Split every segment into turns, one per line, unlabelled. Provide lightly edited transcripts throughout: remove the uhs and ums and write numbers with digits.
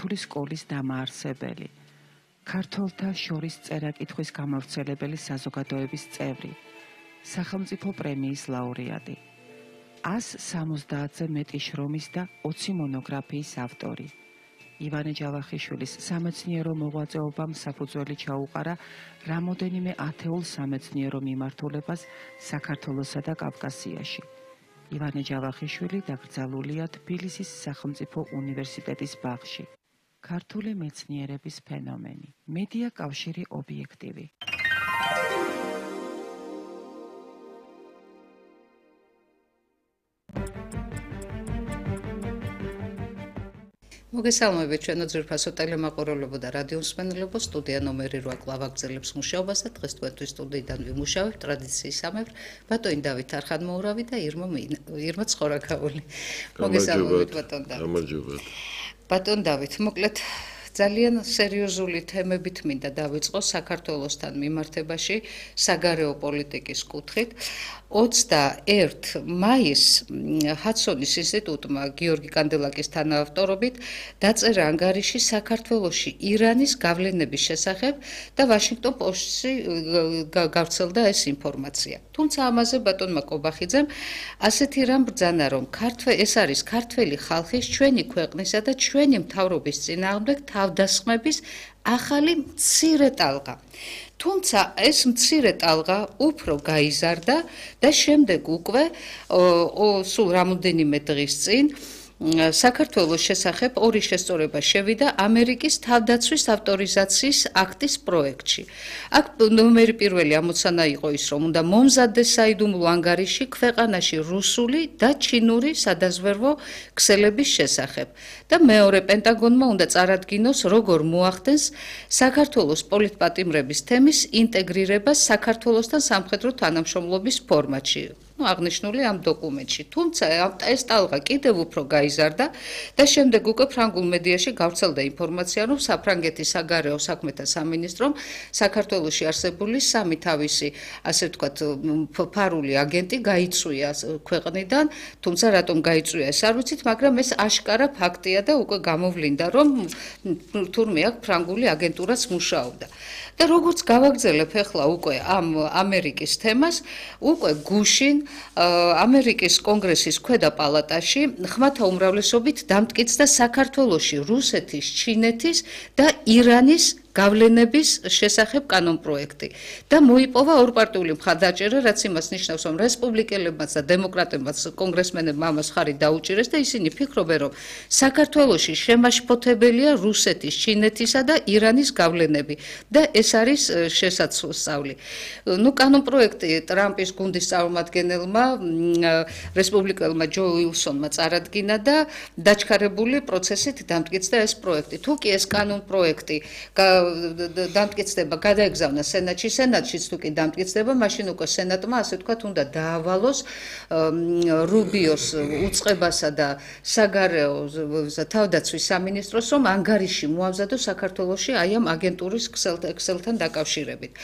ქართული სკოლის დამაარსებელი, ქართველთა შორის წერა-კითხვის გამავრცელებელი საზოგადოების წევრი, სახელმწიფო პრემიის ლაურეატი, 170-ზე მეტი შრომის და 20 მონოგრაფიის ავტორი. ივანე ჯავახიშვილის სამეცნიერო მოღვაწეობამ საფუძველი ჩაუყარა რამოდენიმე ათეულ სამეცნიერო მიმართულებას საქართველოსა და კავკასიაში. ივანე ჯავახიშვილი დაკრძალულია თბილისის სახელმწიფო უნივერსიტეტის ბაღში. ქართული მეცნიერების ფენომენი. მედია კავშირი ობიექტივი.
მოგესალმებით ჩვენო ძვირფასო ტელემაყურებლებო და რადიო მსმენელებო, სტუდია ნომერი 8 კლავაგრძელებს მუშაობას და დღეს თქვენთვის სტუდიიდან ვიმუშავებთ ტრადიციისამებრ ბატონი დავით არხანმოურავი და ირმა ცხორაკაული. მოგესალმებით ბატონ დავით.
გამარჯობათ.
ბატონ დავით, მოკლედ ძალიან სერიოზული თემებით მინდა დავიწყო საქართველოსთან მიმართებაში საგარეო პოლიტიკის კუთხით. 21 მაისს ჰადსონის ინსტიტუტმა გიორგი კანდელაკის თანაავტორობით დაწერა ანგარიში საქართველოში ირანის გავლენების შესახებ და ვაშინგტონ პოსტში გავრცელდა ეს ინფორმაცია. თუმცა ამაზე ბატონმა კობახიძემ ასეთი რამ ბრძანა, რომ ეს არის ქართველი ხალხის, ჩვენი ქვეყნისა და ჩვენი მთავრობის წინააღმდეგ თავდასხმების ახალი მცირე ტალღა. თუმცა ეს მცირე ტალღა უფრო გაიზარდა და შემდეგ უკვე სულ რამოდენიმე დღის წინ საქართველოს შესახებ ორი შესწორება შევიდა ამერიკის თავდაცვის ავტორიზაციის აქტის პროექტში. აქ ნომერი პირველი ამოცანა იყო ის, რომ უნდა მომზადდეს საიდუმლო ანგარიში ქვეყანაში რუსული და ჩინური სადაზვერვო ქსელების შესახებ და მეორე პენტაგონმა უნდა წარადგინოს, როგორ მოახდენს საქართველოს პოლიტპატიმრების თემის ინტეგრირებას საქართველოსთან სამხედრო თანამშრომლობის ფორმატში. აღნიშნული ამ დოკუმენტში. თუმცა ეს ტალღა კიდევ უფრო გაიზარდა და შემდეგ უკვე ფრანგულ მედიაში გავრცელდა ინფორმაცია, რომ საფრანგეთის საგარეო საქმეთა სამინისტრომ საქართველოში არსებული სამი თავისი, ასე ვთქვათ, ფარული აგენტი გაიწვია ქვეყნიდან, თუმცა რატომ გაიწვია ეს არ ვიცით, მაგრამ ეს აშკარა ფაქტია და უკვე გამოვლინდა, რომ თურმე აქ ფრანგული აგენტურაც მუშაობდა. და როგორც გავაგრძელებ ახლა უკვე ამ ამერიკის თემას, უკვე გუშინ ამერიკის კონგრესის ქვედა პალატაში ხმათა უმრავლესობით დამტკიცდა საქართველოში რუსეთის, ჩინეთის და ირანის გავლენების შესახებ კანონპროექტი და მოიპოვა ორპარტიული მხარდაჭერა, რაც იმას ნიშნავს, რომ რესპუბლიკელებმაც და დემოკრატებმაც კონგრესმენებმა ამას ხარი დაუჭირეს და ისინი ფიქრობენ, რომ საქართველოში შემაშფოთებელია რუსეთის, ჩინეთისა და ირანის გავლენები და ეს არის შესაძლებელი. კანონპროექტი ტრამპის გუნდის წარმომადგენელმა რესპუბლიკელმა ჯო უილსონმა წარადგინა და დაჩქარებული პროცესით დამტკიცდა ეს პროექტი. თუ კი ეს კანონპროექტი დამტკიცდება, გადაეგზავნა სენატში, სენატშიც თუ კი დამტკიცდება, მაშინ უკვე სენატმა, ასე ვთქვათ, უნდა დაავალოს რუბიოს უწყებასა და საგარეო თავდაცვის სამინისტროს, რომ ანგარიში მოამზადოს საქართველოში აი ამ აგენტურის ქსელთან დაკავშირებით.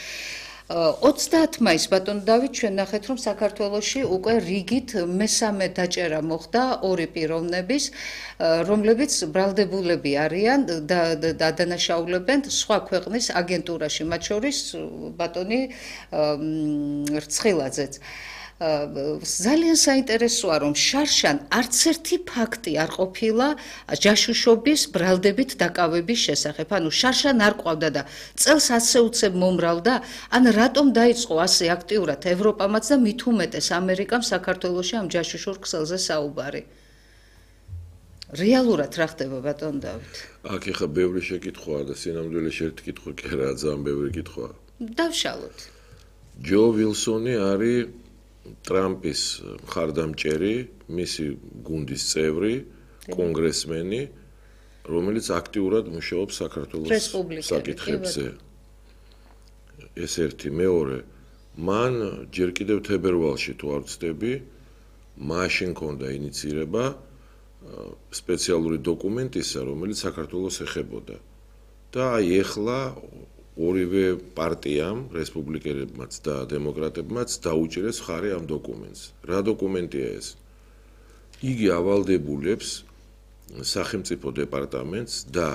30 მაისს ბატონ დავით ჩვენ ნახეთ, რომ საქართველოში უკვე რიგით მესამე დაჭერა მოხდა ორი პიროვნების, რომლებიც ბრალდებულები არიან და ადანაშაულებენ სხვა ქვეყნის აგენტურაში, მათ შორის ბატონი რცხილაძეც. ძალიან საინტერესოა, რომ შარშან არც ერთი ფაქტი არ ყოფილა ჯაშუშობის ბრალდებით დაკავების შესახებ. ანუ შარშან არ ყვავდა და წელს ასე უცებ მომრავლდა, ან რატომ დაიწყო ასე აქტიურად ევროპამაც და მით უმეტეს ამერიკამ საქართველოში ამ ჯაშუშურ ქსელზე საუბარი. რეალურად რა ხდება ბატონ დავით?
აქ ეხა ბევრი შეკითხვაა და სინამდვილეში ერთი კითხვა კი არა, ძალიან ბევრი კითხვაა.
დავშალოთ.
ჯო უილსონი არის ტრამპის მხარდამჭერი, მისი გუნდის წევრი, კონგრესმენი, რომელიც აქტიურად მუშაობს საქართველოს საკითხებზე. ეს ერთი. მეორე, მან ჯერ კიდევ თებერვალში თუ არ ვცდები, მაშინ ჰქონდა ინიცირება სპეციალური დოკუმენტისა, რომელიც საქართველოს ეხებოდა. და აი ეხლა ორივე პარტიამ, რესპუბლიკელებმაც და დემოკრატებმაც დაუჭირეს ხარი ამ დოკუმენტს. რა დოკუმენტია ეს? იგი ავალდებულებს სახელმწიფო დეპარტამენტს და